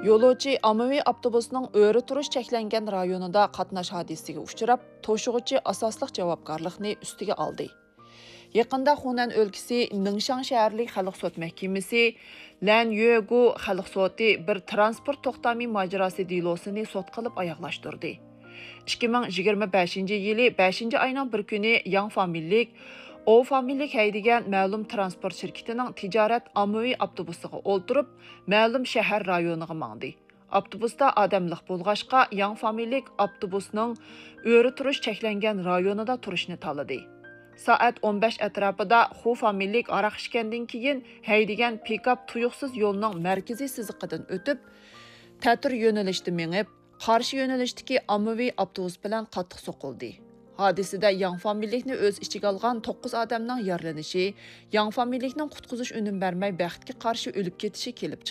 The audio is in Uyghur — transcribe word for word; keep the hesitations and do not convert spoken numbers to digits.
يولۇچى ئاممىۋى ئاپتوبۇسنىڭ ئۆرە تۇرۇش چەكلەنگەن رايونىدا قاتناش ھادىسىسىگە ئۇچراپ، توشۇغۇچى ئاساسلىق جاۋابكارلىقنى ئۈستىگە ئالدى. يېقىندا خۇنەن ئۆلكىسى نىڭشاڭ شەھەرلىك خەلق سوت مەھكىمىسى لەن يۆگۇ خەلق سوتى بىر تىرانسپورت توختامى ماجىراسى دېلوسىنى سوت قىلىپ ئاياغلاشتۇردى. ئىككى مىڭ يىگىرمە بەشىنچى يىلى بەشىنچى ئاينىڭ بىر كۈنى ياڭ فامىلىلىك، ئو فامىلىلىك ھەيدىگەن مەلۇم تىرانسپورت شىركىتىنىڭ تىجارەت ئاممىۋى ئاپتوبۇسىغا ئولتۇرۇپ، مەلۇم شەھەر رايونىغا ماڭدى. ئاپتوبۇستا ئادەم لىق بولغاچقا، ياڭ فامىلىلىك ئاپتوبۇسنىڭ ئۆرە تۇرۇش چەكلەنگەن رايونىدا تۇرۇشنى تاللىدى. سائەت ئون بەش ئەتراپىدا خۇ فامىلىلىك ھاراق ئىچكەندىن كېيىن ھەيدىگەن پىكاپ تۇيۇقسىز يولنىڭ مەركىزىي سىزىقىدىن ئۆتۈپ، تەتۈر يۆنىلىشتە مېڭىپ، قارشى يۆنىلىشتىكى ئاممىۋى ئاپتوبۇس بىلەن قاتتىق سوقۇلدى. ھادىسىدە ياڭ فامىلىلىكنى ئۆز ئىچىگە ئالغان توققۇز ئادەمنىڭ يارىلىنىشى، ياڭ فامىلىلىكنىڭ قۇتقۇزۇش ئۈنۈم بەرمەي بەختكە قارشى ئۆلۈپ كېتىشى كېلىپ